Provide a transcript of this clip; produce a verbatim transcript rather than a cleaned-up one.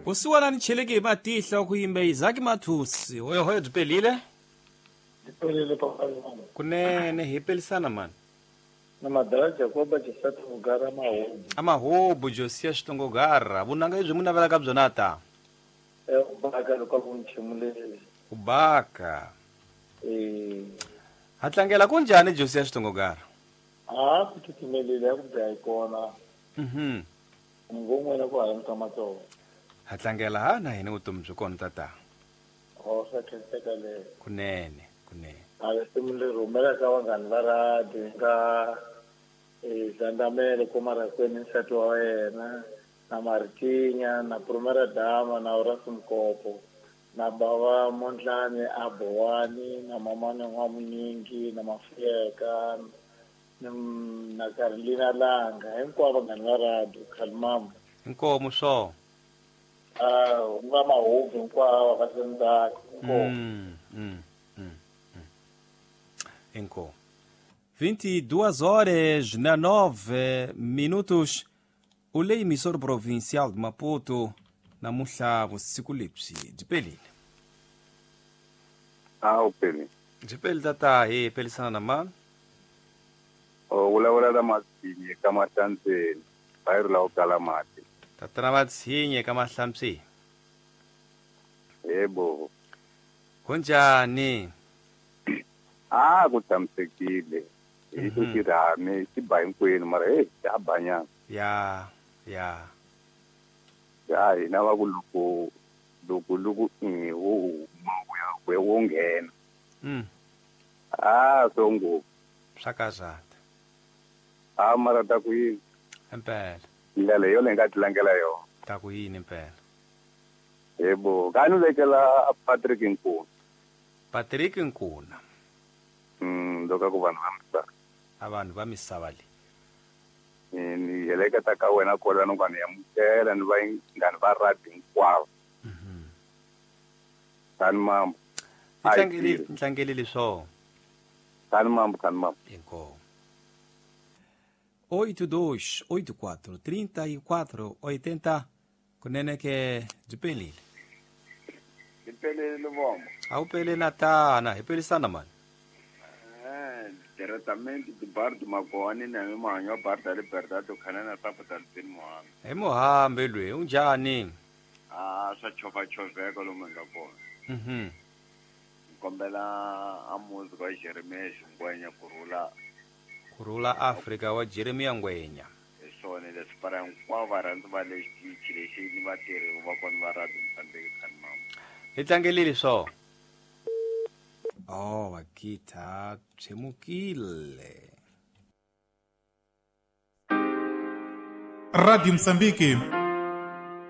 Vusiwana ni cheleke hi matihlo ku yimbe Isaac Mathusi hoyohoyo byi pelile byi pelile papa kunene hi pelisana mani na madala Jacoba Josati Vugara Mahobu amahobu Josia Xitongogara vunanga lebyi mu navelaka byona ta e u baka loko ku nchimulele u baka eh ha tlangela kunjhani Josia Xitongogara a ku titimelile ya ku dya kona mhm ngomwe ku hala ka matsongo ha tlangela ha na hina vutomi byi kona tata o swa khenseka le kunene kunene a risimu leri rhumelaka vanghani va radio nga e Zandamele Komarakweni nsati wa yena na Martinya na Prumera Dama na Horace Mkopo na bava Mondlane a Bowani na mamane N'wamunyingi na Mafuyeka na Carolina Langa hinkwavo vanghani va radio Khalimambo inkomu swo ah nga mahubu hinkwavo va sendzaka inkomu mm, mm, mm, inkomu vinte e duas horas na nove minutos o lei emissor provincial de Maputo namuhla vusiku lebyi byi pelile a u peli byi peli tata hi pelisana na mani o vulavula na Matsinye ka Mahlantseni bayiro la u kala mati tatana Matsinye ka Mahlantseni yebo kunjani a ku tshamisekile hi ku xirhami xi ba hinkwenu mara hey xa banyana ya ya ya hina va ku loko loko loko i wo huma wu ya wo nghena mm a swo ngopfu swa karhata a mara ta ku yini impela ndlela yo leyi nga tlangela yona ta ku yini impela yebo ka ni vekela Patrick Nkuna Patrick Nkuna mm loko ku vanhu va misava a vanhu va misava le ni heleketa ka wena kolano ka ni amukela ni vanghani va radio hinkwavo mhm tani mambo tlangeli tlangeli swo tani mambo tani mambo inkomu oito dois oito quatro trinta e quatro oitenta kunene ke byi pelile byi pelile vombo a wu pele na tana hi pelisana mani eh diretamente de bar de Magoani na manyo bar da Liberdade khanana tapo da Lupin Mohambe hi Mohambe lwe unjhani a swa chova choveka lomu nga kona mhm kombela a muzi wa Jeremia Ngwenya kurula kurula Afrika wa Jeremia Ngwenya hi swona leswi para hinkwavo varhandzi va le xitichi lexi ni vatirhi va kona va radio Mozambique Khalimambo hi tlangelile swo oh vakita tshemukile Radio Mozambique